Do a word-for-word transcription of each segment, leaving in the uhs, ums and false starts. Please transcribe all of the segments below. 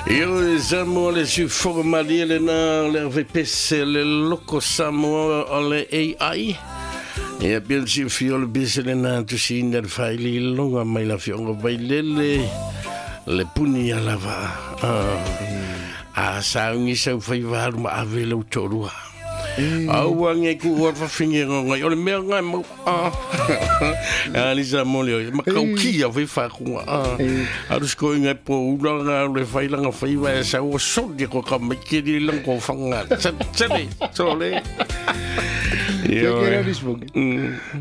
Io Samoa le sufoga malie le na le R V P C le loko Samoa o le A I. Ia pia le sifia o le bese le na tusina le faili longa mai la fionga vailele le puni a lava. A saungi sau faivalu ma ave lau tōrua. Aua nge ku ua whawhinge ngai o le mea ngai mau a Alisa mole o makau kia whai whakunga a Arus ko ingai po ula ngā le whailanga whaiwa e sau o soli ko ka maikiri lang ko whanga tsale tsole. Io che era rispondi.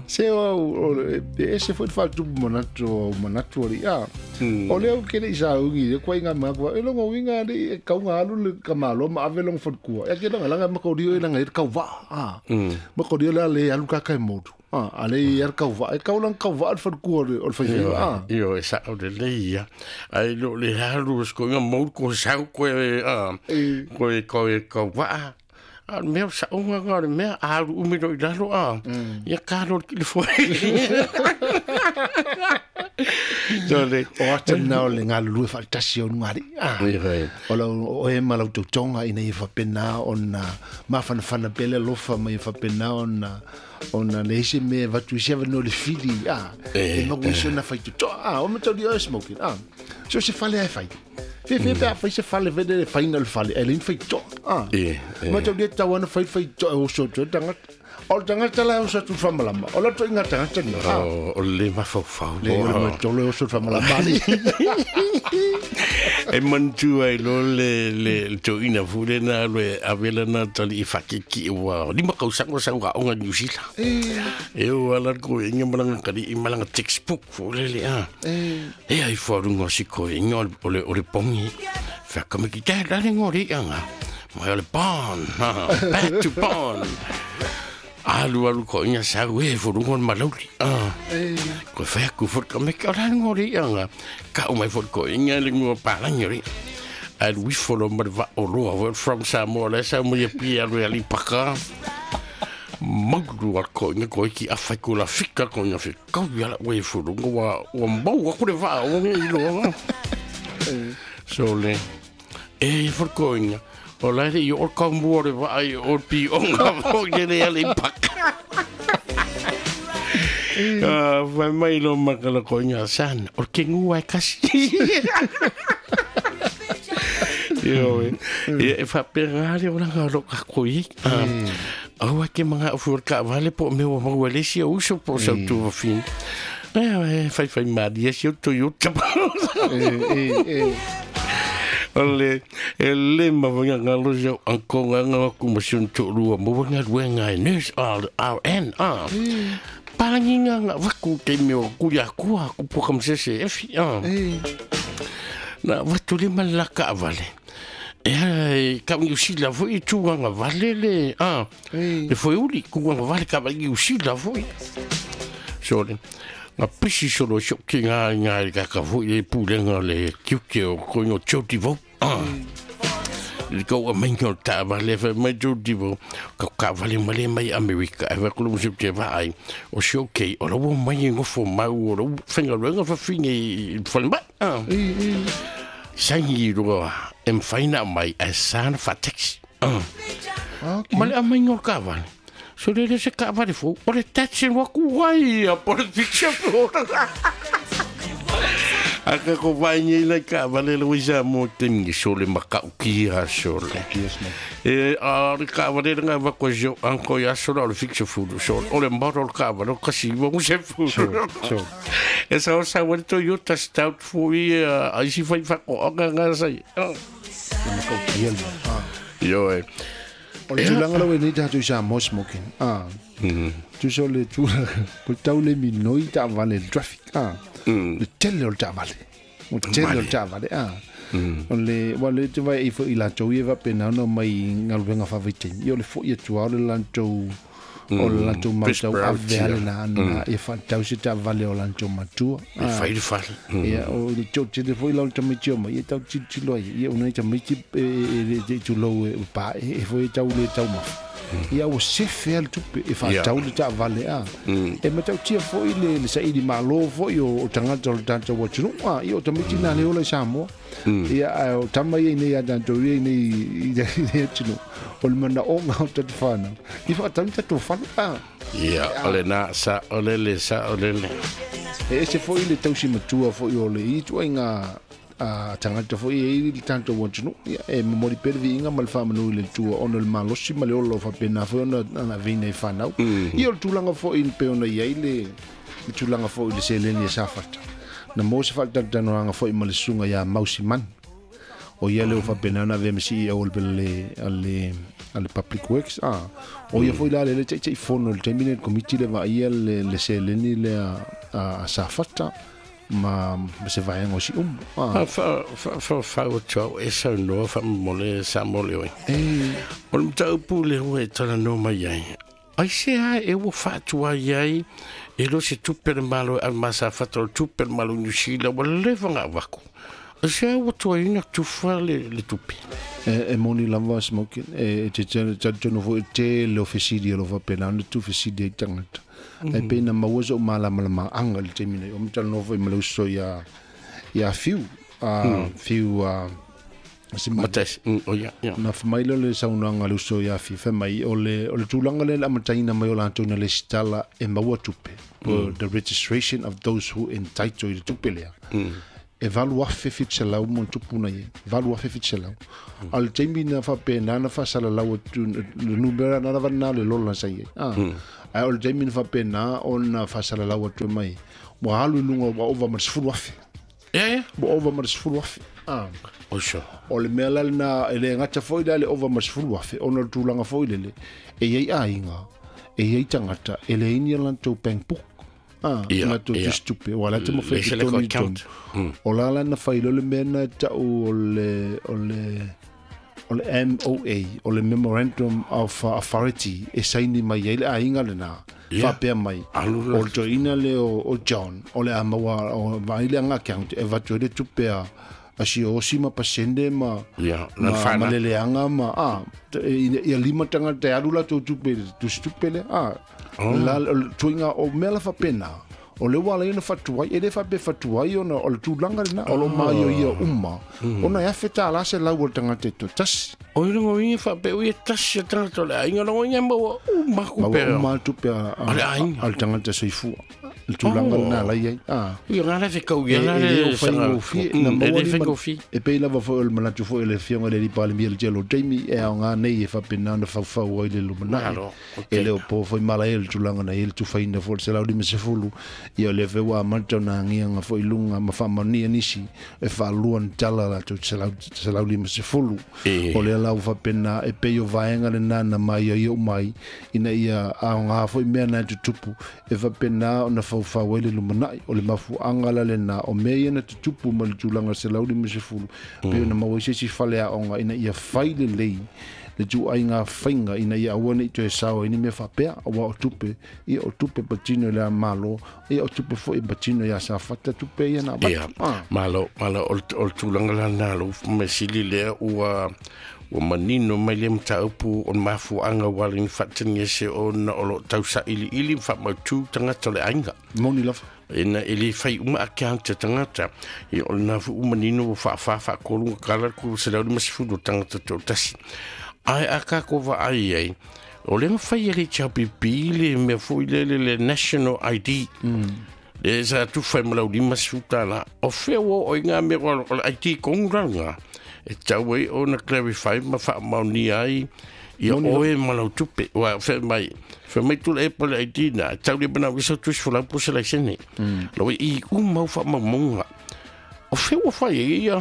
Se o e se foi fatto manatu manatu ri a. O le o che le sa ungi le kwa inga ma kwa e longo winga le ka unga alu le ka malo ma ave longo fot kua. E ke longa langa ma ko rio e langa e ka va a. Ma ko rio la le alu ka ka modu. A ale i ka va e ka ulang ka va al fot kua o fai a. Io e sa o le le ia. Ai lo le halu sko inga mo ko sa ko e a. Ko e ko e ka va. A mea sa unga ngā le mea a aru umiro i lalo a. Ia kāro ki le foe. Tole. O ata nā o le ngā lulue whaatasi o ngari. O lau o e ma lau tautonga ina i whapena o na mawhanawhana pele lofa ma i whapena o na o na le ese me watu isi awa no le fili a. E maku isi o na whaitutoa a. O matau di o e smoking a. So se fale ai whai. Fe fe pe fai se fale vede le final fale e lin fai to ah ma to le tawana fai fai to o so to tanga o tanga tala o so tu famalama o la to inga tanga tanga o le ma fau fau le ma to le o so famalama ni e mantu ai lo le le to ina fule na le avela na tali fakiki wa ni ma kau sango sango o New Zealand e o ala ko inga malanga kali malanga textbook fule le a e ai forungo siko inga o le o le pongi fa kama ki te la ngori anga ma le bon back to bon alu alu ko inga sa we forungo malauli ah ko fa ku for kama ki la ngori anga ka o mai for ko inga le ngo pa la ngori and we follow ma va o lo from Samoa la sa mo ye pi alu ali paka magru ko inga ko ki afa ko la fika ko inga fi ka ya la we forungo wa wa mo wa ko le va o ngi lo so le e for koinga o la re o ka mo re va ai o pi o nga fo ke le ale pak ah va mai lo makala koinga san o ke ngua kasi yo e fa perare o la lo ka koi ah ke manga fu ka vale po me o mo le si o so po sa tu fin eh fai fai mari si o Toyota eh eh ole ele ma vanga ngalo jo anko nganga ku masun to rua mo vanga ruenga nurse R R N A palanginga nga vaku te me o ku ya ku ku po kam se se F A na vatu le malaka vale e ka ngi si la foi tu nga vale le a le foi uli ku nga vale ka ngi si la foi so nga pisi solo so ki nga nga ka ka foi e pulenga le kiuke o ko no choti vo ah le ko a mengo ta vale fa mai choti vo ka ka vale male mai America e va ko mo se te va ai o so ke o lo mai ngo fo mau o lo fenga lo fa finge fa ma ah sangi ro em faina mai a san fa taxi ah male a mengo ka vale so le se ka vale fo o le taxi wa ku ai a por picture a ka ko vai ni le ka vale le wisa mo tengi so le makau ki ha so le e a le ka vale nga va ko jo an ko ya so le fixe fu so o le mbaro ka vale ka si mo se fu so e sa o sa wa Toyota Stout fu i a si fai fa ko nga nga sai yo e o le tulaga lau e nei tatou i Samoa smoking a tusa o le tulaga po tau le minoi taavale le traffic a le tele o le taavale o tele o le taavale a o le ua le te vai i foʻi latou ia faapena ona mai galuega faavaitaimi ia o le foʻi atu a o le latou o le latou mautau ave ale na ia faatau se taavale o latou matua e fai le fale ia o le tele foi lau tamaiti o mai ia tau tilotilo ai ia unai tamaiti e tulou e pae e foi tau le taumafa Ia ua sefe a le tupe e fa'atau le ta'avale a e matautia fo'i le le sa'ili mālō fo'i o o tagata o le tatou atunu'u a ia o tamaiti na le ola i Samoa ia ae o tama ia inei a tatou ia inei i le atunu'u o le mana'oga o tatou fanau i fa'atau ni tatou fale a ia o le na sa o le le sa o le le e ese fo'i le tausi matua fo'i o le i tuaiga a tagata fo'i e i le tatou atunu'u ia e momoli pea le viiga ma le fa'amanu i le Atua ona o le malosi ma le ola o fa'apena foi ona ana aveina i fanau ia o le tulaga fo'i pe ona iai le le tulaga fo'i le seleni e Safata na mo se fa'atalatalanoaga fo'i ma le susuga iā Mausimani o ia le o fa'apena ona avea ma C E O o le le le Public Works a o ia foi la le ta'ita'ifono i le taimi le komiti le va'aia le le seleni lea a Safata ma ma se vaega o si'umu a fa fa fa fa o tau e sau noa fa'amomole sa mo le oi o le mataupu le ua e talanoa mai ai ai se a e ua fa'atuai ai e lo se tupe le malo e ma Safata o le tupe le malo New Zealand ua leva ga'avaku ai se a ua tuaina tufa le le tupe e e moni lava smoking e te talitonu fo'i tele o fesili o lo fa'apena ona tufesili ai tagata e pe na maua so'u malamalama'aga i le taimi nei o matalanoa fo'i ma le uso ia ia Fiu a Fiu a se Matas o ia ia na fa'amai lea o le saunoaga a le uso ia Fiu fa'amai o le o le tulaga lea le amataina mai o latou na lesitala e maua tupe the registration of those who entitle i le tupe lea e valu afe fitu selau mo tupu na ia valu afe fitu selau a le taimi na fa'apena na fa'asalalau atu le numera na lava na le lola sa ia a ae o le taimi na fa'apena ona fa'asalalau atu e mai ua alu i luga ua ova ma le sefulu afe ia ia ua ova ma le sefulu afe a o sure o le mea la lena e le gata fo'i la le ova ma le sefulu afe ona o le tulaga fo'i lele e iai aiga e iai tagata e leai ni a latou bank book ah ia na tou ia tusi tupe ua la te mafai le se le totonu i account totonu o la la na fai loa le mea na e ta'u o le o le o le M O A o le Memorandum of Authority e saini mai ai le aiga lenā ia fa'apea mai alu o la le toeaina lea o, o John o le a maua o vaai le aga account e avatu ai le tupe a a siosi ma pasende ma ia na ma, ma fana leleaga ma a ia lima tagata e alu latou tupe i le tusitupe lea a la o le tuiga o mea la fa'apena o le ua ala ai ona fa'atuai e lē fa'apea fa'atuai ona o le tulaga lenā o lo maioia uma ona e afe tālā selau o le tagata e toatasi o i longo inga fa'apea ui e tasi a tagata o le aiga longo inga maua uma maua kupe uma le tupe a, o le a, aiga a le tagata soifua le tulaga lenā oh lai ai a ia ngā la fekau e, ia la e lē o le sanga faigofie na e maua le ni faigofie e pei lava foi o le manatu foi o le afioga i le alii palemia le tele o taimi e aogā nei e fa'apena ona faufau ai le lumana'i malo e okay le o po foi malae le tulaga na i le tufaina foi le selau lima sefulu ia o lea foi ua amata ona agiaga foi i luga ma fa'amaonia nisi e fa'alua na tala latou selau selau lima sefulu e o lea la ua fa'apena e pei o vaega lenā na maioio umai ina ia aogā foi mea na e tutupu e fa'apena ona faufau ai le lumana'i o le mafu'aga la lenā o mea ia na tutupu ma le tulaga selau lima sefulu pe ona maua ai se isi fale a'oga ina ia fai lelei le tu'aiga faiga ina ia aua ne'i toe sao ai ni mea fa'apea auā o tupe ia o tupe patino i le mālō ia o tupe fo'i patino iā Safata tupe ia na avatu ia a malo malo o le o le tulaga lana lou mesili lea ua ua manino mai le mataupu o le mafua'aga ua ala ni fa'atagese ona o lo'o tausa'ili'ili ma fa'amautū tagata o le aiga moni lava ina e le fai uma account e tagata ia o lena fo'i ua manino ua fa'afā fa'atolu kala ku selau lima sefulu o tagata to'atasi ae a kako va'ai ai o le mafai e le H L P P le mea fo'i lele le National I D le sa tufa e ma lau lima sefu tālā o fea ua oo i ngā mea o le I D kongu ranga e tau ai ona clarify ma fa'amaonia ai ia moni lava oe ma lau tupe ua fe mai fe mai tu le e le I D na tau le mana wisa tu folau po se laisene lo i uma u fa'amaumaunga o fea ua fai ai ia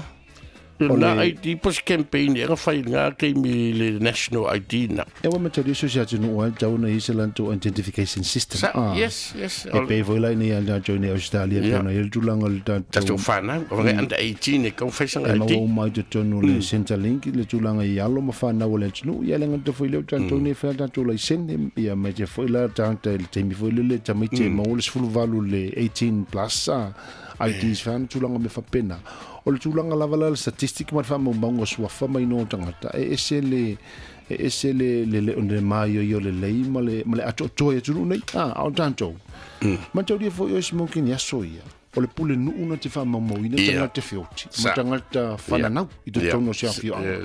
o na le I D po se campaign e ga fai ngā keimi le National I D na e ua matalia so se atunu'u ai tau ona i se latou identification system sa a yes yes e pei foi la ina ia tatou nei Australia pe ia ona i le tulaga o le tatou tatou whanau o ngai under eighteen e kau whaisanga e I D maua uma i totonu o le Centrelink le tulaga i alo ma fanau o le atunu'u ia le gata foi lea o tatou nei fai tatou laisene ia ma te foi la tagata i le taimi foi lele tamaiti e maua le sefulu valu le eighteen plus a I Ds fan tulaga me faapena o le tulaga lava la le statistic ma le faamaumauga suafa mai no tagata e ese le e ese le le le le maioio lelei ma le ma le atoatoa i atunuu nei a a o tatou mataulia foi o smoking aso ia o le pule nuu na te faamaumauina tagata feoti ma tagata fananau i totonu o se afioaga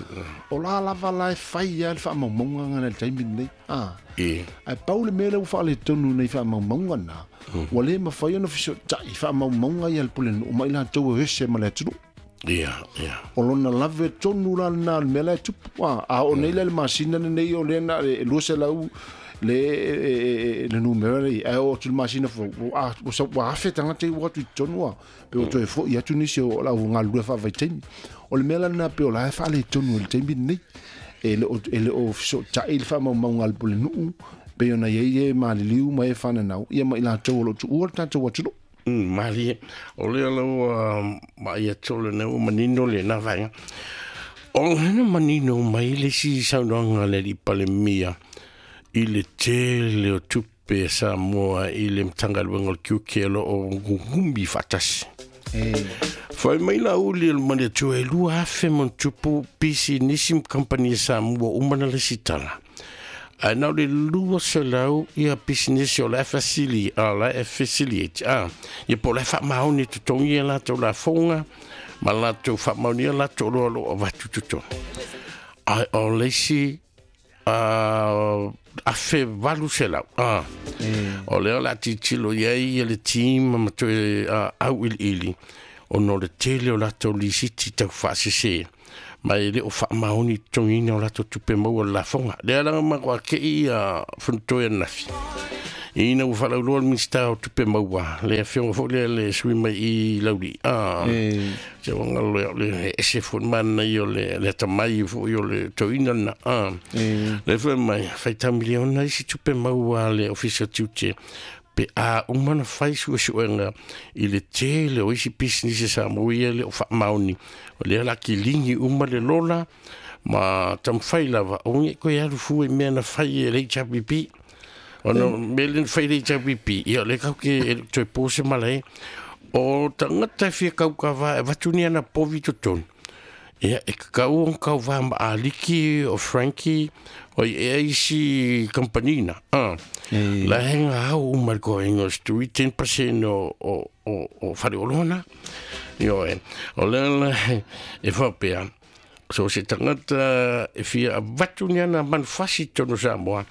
o la lava la e fai ia le faamaumauga na le taimi lenei a ae pau le mea lea ua faaletonu nei faamaumauga na ua le mafai ona fesotai faamaumauga ia le pule nuu ma i latou e ese ma le atunuu. Ia, ia. O lona lave tonu la lena le mea la e tupu a a o nei la le masina lenei o lea na e lua selau le le numera le ai o tu masina fo a o sa wa fe tanga te wa tu tonu a pe o toe fo ia tu ni se o la o ngalue fa vai taimi o le mea la na pe o la fa le tonu le taimi nei e le e le o so ta il fa mau mau ngal pole nuu pe ona ye ye ma liu ma e fana nau ia ma ila to lo tu o ta to wa tu. Mali o le lau ma ia tole ne o manino le na vainga o hena manino mai le si saunoaga le li palemia i le tele o tupe Samoa i le Matagaluega o le Tiute o lo o gugumi faatasi. Fai mai la uli o le mani atua e lua afe ma tupu pisi nisi ma Samoa uma na le sitala. Ae na o le lua selau ia pisinisi o le facili a la e faciliate a ia po le faamaoni totogi e latou lafoga ma latou faamaonia latou loa o loo avatu totonu. Ae o le isi afe valu selau a o lea o le a tilotilo i ai ia le team ma toe auiliili ona o le tele o latou lisiti taufaasese ma e le o faamaoni totogiina o latou tupe maua le lafoga. Lea laga matou akei ia fonotoe ananafi ina ua faalauloa le Minisita o Tupe Maua le afioga foi lea le sui mai i Lauli a se uaga o le ese foi manaia o le le atamai foi o le toeaina lena a le foi mai faitau miliona isi tupe maua a le Ofisa o Tiute pe a uma na fai suesuega i le tele o isi pisinisi Samoa ia le o faamaoni o lea la kiligi uma le lola ma taumafai lava o ge koe alu fua i mea na fai e le H R P P ona mea le na fai le H R P P ia o lea kau ke e toe pose malae o tagata e fia kaukava e avatu ni ana povi totonu ia e kakau ona kauvā ma Aliki o Frankie o i ea isi kampanina a la henga au uma le koenga o stui ten percent o o o o faleoloa io e o lea la e faapea so se tagata e fia avatu ni ana manufasi tonu Samoa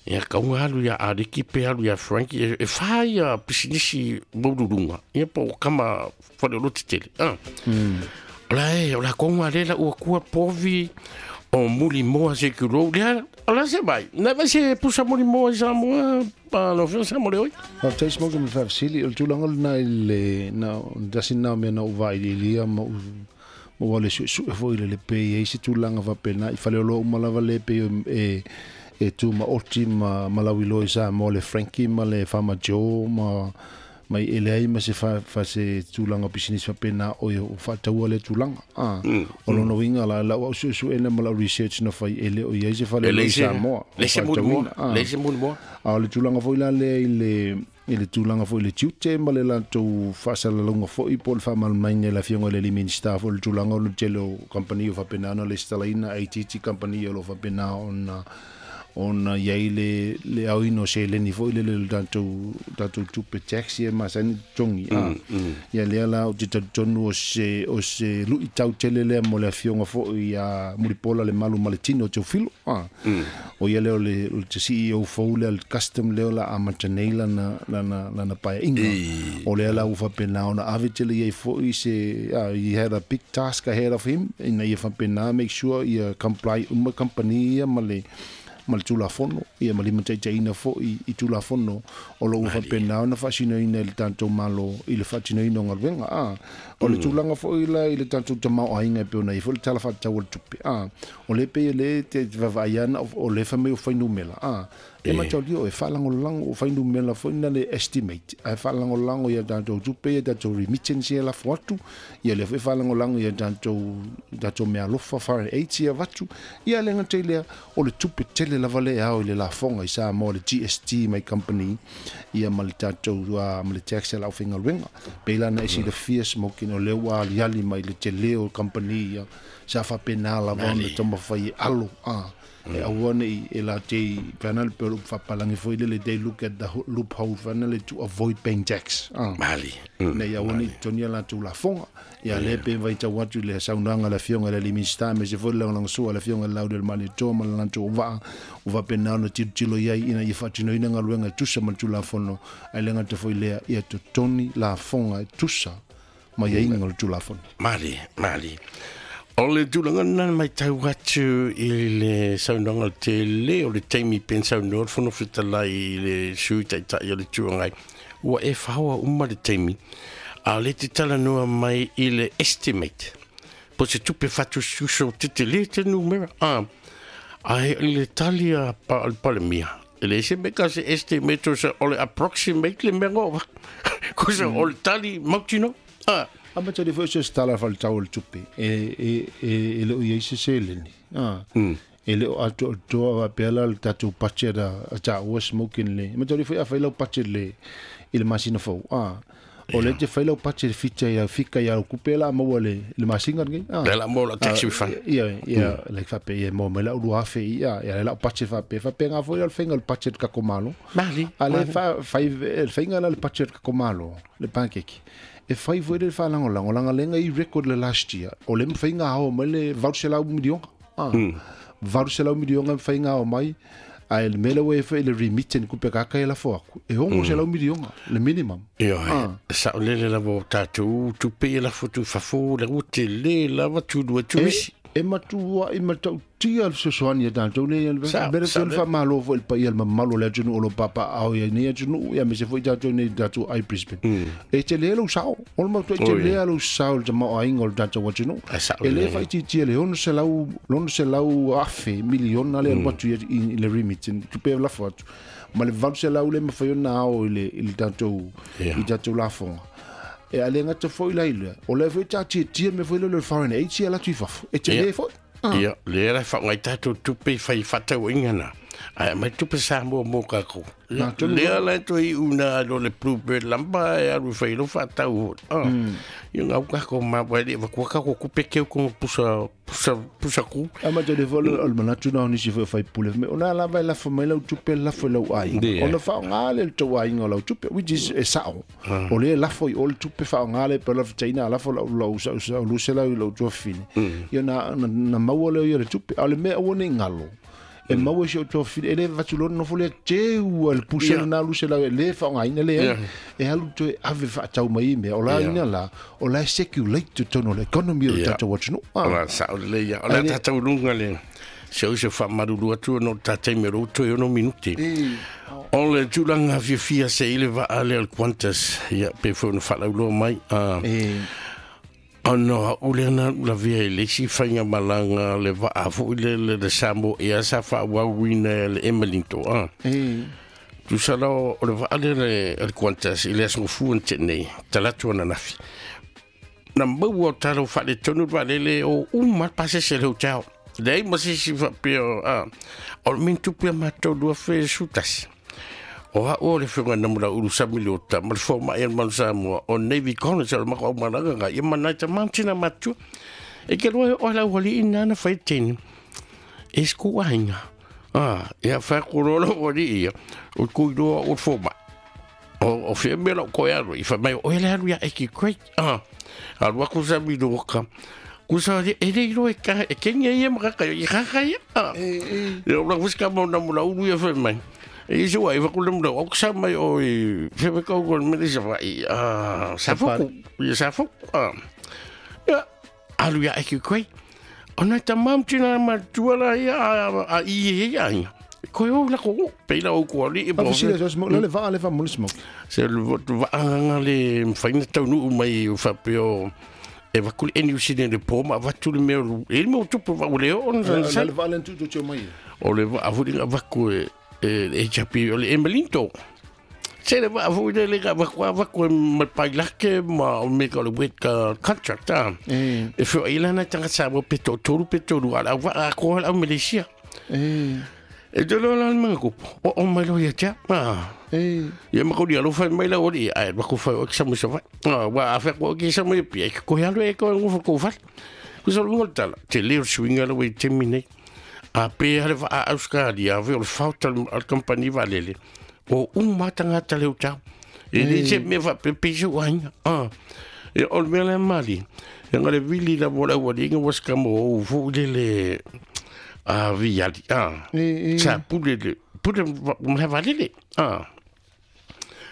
ia kauga alu ia Aliki pe alu ia Frankie e fā ia pisinisi maululuga ia po o kama faleoloa tetele a o la e o la konga le la ua kua povi o muli moa se kulou lea o la se mai na vai se pusa muli moa i Samoa pa lo fio Samoa le oi. Faafetai smoke ma faafesili o le tulaga lena i le na tasi lena o mea na ou vailiilia ma ou ma ua le suesue foi i le lepe i ai se tulaga faapena i faleoloa uma lava le pei e e tu maoti ma ma lauiloa i Samoa le Frankie ma le Farmer Joe ma mai e leai ma se fa fa se tulaga pisinisi faapena o o faataua le tulaga a o lona uiga la lau au suesuena ma lau research na fai e le o iai se faleoloa i Samoa le se mulimoa le se mulimoa a o le tulaga foi la lea i le i le tulaga foi le tiute ma le latou faasalalauga foi po o le faamalamalamaina e le afioga i le alii Minisita foi le tulaga o le tele o kampani o faapena ona lesitalaina I T T kampani o lo faapena ona ona iai le le aoina o seleni foi le le tatou tatou tupe tax ia masani totogi a ia lea la ou te talitonu o se o se luitau tele lea mo le afioga foi ia Mulipola le malu ma le tino o Teofilo a o ia lea o le o le C E O fou lea le custom lea o la amata nei lana lana lana paeaiga o lea la ua faapena ona ave tele iai foi se he had a big task ahead of him ina ia faapena make sure ia comply uma company ia ma le ma le tulafono ia ma limataitaiina foi i tulafono o lo ua faapena ona faasinoina i le tatou malo i le faatinoina o galuega a o le tulaga foi la i le tatou tamaoaiga e pei ona i ai foi le tala faatatau o le tupe a o le pei e le te vaavaai ana o le fai mai o fuainumera a e mataulia o e faalagolago o fuainumera foi na le estimate ae faalagolago ia tatou tupe ia tatou remittance ia lafo atu ia lea foi faalagolago ia tatou tatou meaalofa foreign aids ia avatu ia le gata i lea o le tupe tele lava le ao i le lafoga i Samoa le G S T my company ia ma le tatou ma le tax a le aufaigaluega pei la na e silafia Smoking o lea ua aliali mai le tele o company ia sa faapena lava ona taumafai e alo a e aua nei e latou fana le pelo faapalagi foi lele they look at the loophole fana le to avoid paying tax mali nei aua nei totogi a latou lafoga ia le pe vaitau atu i le saunoaga a le afioga i le alii Minisita aemaise foi le lagolagosua a le afioga i le Laaulialemalietoa ma le latou vaa ua faapena ona tilotilo i ai ina ia faatinoina galuega e tusa ma le Tulafono ae le gata foi lea ia totogi lafoga e tusa ma iaiga o le Tulafono. Mali, mali. O le tulaga lena matau atu i le saunoaga tele o le taimi pe saunoa le Fofoga Fetalai i le sui taitai o le Itu Agai ua e faoa uma le taimi a le te talanoa mai i le estimate po se tupe faatusitusa o tetele te numera a ai le tali a pa le Palemia e le se mea ka se estimate o se o le approximate le mea ngoa ko se o le tali mautino a A ma tali foi se stala faletau o le tupe e e e e le o iai se seleni a e le o atoa atoa faapea la le tatou budget a a taua Smoking le ma tali foi a fai lau budget le i le masina fou a o le te fai lau budget fita ia fika ia kupe la maua le le masina lenei a le la mo la tax refund ia ia like faapea ia mo mai lau lua afe ia ia le lau budget faapea faapea foi le faiga o le budget ka komalo mali a le fa fai le faiga la le budget ka komalo le pancake e fai foi le faalagolago lagalega i record le last year o le mafaiga ao mai le valu selau miliona a valu selau miliona mafaiga ao mai ae le mea lea ua i ai foi le remittance kupe kaka e lafo aku e ono selau miliona le minimum. Ia saolele lava o tatou tupe e lafo atu i fafo le ua tele lava tulua turisi e matua i matautia le fesoasoani ia tatou nei le mea le faamalo foi i le paia le mamalu o le atunuu o lo papaao ia nei atunuu ia aemaise foi tatou nei tatou ai Brisbane e tele lou sao o le matuai tele lou sao i le tamaoaiga o le tatou atunuu e lē faaitiitia le ono selau ono selau afe miliona le alu atu i le remittance tupe lafo atu ma le valu selau le mafai ona ao i le i le tatou i tatou lafoga e a le gata foi la i lea o lea foi taatiatia mea foi lele o le foreign aid ia latou i fafo e tele foi. Ia lea la faaaoga tatou tupe i fai faatauaiga na ae aumai tupe Samoa mo kākou lea la e toe iu na alu o le Bluebird lamba e alu i fai lou faatau ia gau kākou maua e le avatua kākou kupe keu koga pusa pusa pusa ku a ma tele foi o le manatu na o nisi foi o faipule o na lava e lafo mai lau tupe lafo i lau aiga ona faaaoga le le tou aiga o lau tupe which is e sao o lea lafo i o le tupe faaaoga le pe lafataina a lafo lau lau sau luselau i lau tuafafine ia na na maua lea ia le tupe a o le mea aua nei galo e maua si o tuafafine e le vatulona nofo lea teu a le pusa lena luselau e le faaaogaina lea e alu toe ave faatau mai i mea o la ina la o la e circulate totonu o le economy o le tatou atunuu. O la sao lelei ia o le tatou luga le se o se faamalulu atu ona o le tatai mea o lou toe ono minute o le tulaga fiafia se i le vaa lea o le Qantas ia pe foi ona faalauloa mai ona au lea na lavea i le isi faigamalaga le vaa foi le le Samoa Air sa faaauauina e le Emelinto a tusa la o le vaa lea le Qantas i le aso gafua na tenei talatu ananafi na maua o talo faaletonu le vaalele o uma le pasese le hotel leai ma se isi faapea a o le mea na tupu ia matou lua afe sefulutasi o au o le afioga na Mulaulu Sami Leota ma le fomai a le Malu Samoa o Navy College o le matou aumalaga ga ia ma nai tama ma tina matua e ke loa o lau alii na na fai teni e sku aiga a ia fa ko lo lo alii ia o ku iloa o le fomai o o fia mea lau koe alu i fai mai o ele alu ia e ki great a alu aku Sami Leota kusa e le iloa e ka e kenya ia ma kaka i kaka ia a ia o la fuska mo na Mulaulu ia fai mai e isi wa i fakule mula o kusa mai o i whiwe kau koe mele sa wai a sa foku ia sa foku a ia alu ia e ki koe o nai tamam tina matua la ia a i e ia ia koe o la ko peila o ko ali e mo le vaa le va mo smoke se le vaanga le mfaina taunuu mai o faapea e vakuli e New Zealand le po ma avatu le mea e le mea o tupu vau le o ona sa le vaa le tu tu mai o le vaa foi le avaku e e H P o le Emelinto se le vaa foi le le avaku avaku e ma pailake ma o me ka le wet ka contract a e fio i lana tanga sa mo pe tolu pe tolu ala vaa ko ala Malaysia e E te loa la le kupu. O o mai lo ia tia. Ah. E Ia ma kodi alo fai mai la ori ai ma ko fai o ki sa mo sa fai. Ah, wa a fe ko ki sa mo pia ki ko ya lo e ko ngo ko fai. Ku sa lo tala. Te le swinga lo e te mine. A pe hale fa a Australia ve o fauta al company valele. O un matanga tale o tau. E le se me fa pe pe so ai. Ah. E o me le mali. E ngale vili la vola wa dinga was kamo o fu le le a viali. Ah. E e Sa pule le pule ma valele. Ah.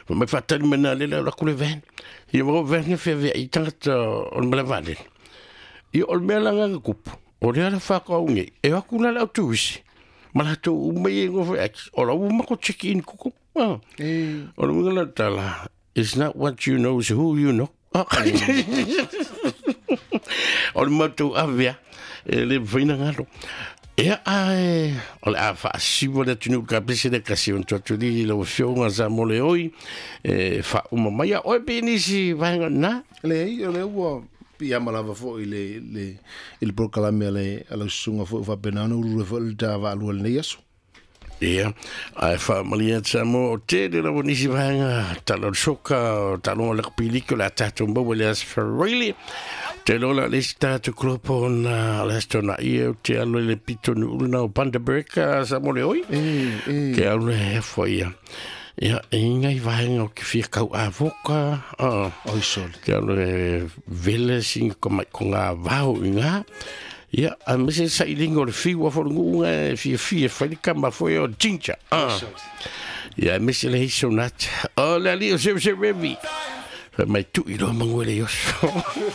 Ma fa tali mena le la kule ven. Ia mo ven fe ve i tangata o me valele. I o me la nga kupu. O le ala fa ko nge. E aku la la tuisi. Ma la tu me ngo fe ex. O la u ma ko check in kuku. Ah. E O le winga la tala. It's not what you know, it's who you know. Ah. O le matu avea. E le vaina ngalo. E ai, o le a fa siwa le tunu ka pese le kasi on tuatu li lo fionga sa mo le oi. E fa uma maia oi penisi vainga na. Le ei o le ua pia malava fo i le le i le prokalame ale ala sunga fo fa penana uru fo le ta va lu le aso. Ia, ai fa malia tsa mo te le la nisi vainga talo soka talo le piliko la tatu mo le as ferili. Te lola le sta tu klopo na le stona ia te alo le pito nu na o Bundaberg sa mo le oi. E e Ke alo le fo ia. Ia, e ngai vainga o ki fia kau a voka. Ah. oi sol. Ke alo le vele singa ko mai ko ngā vau i ngā. Ia, a mese sa i lingo le fiwa fo ngu nga fia fia fai le kama fo o ginger. Ah. Ia, mese le hiso nat. O le ali o se se revi. Fa mai tu i lo mangu le yoso.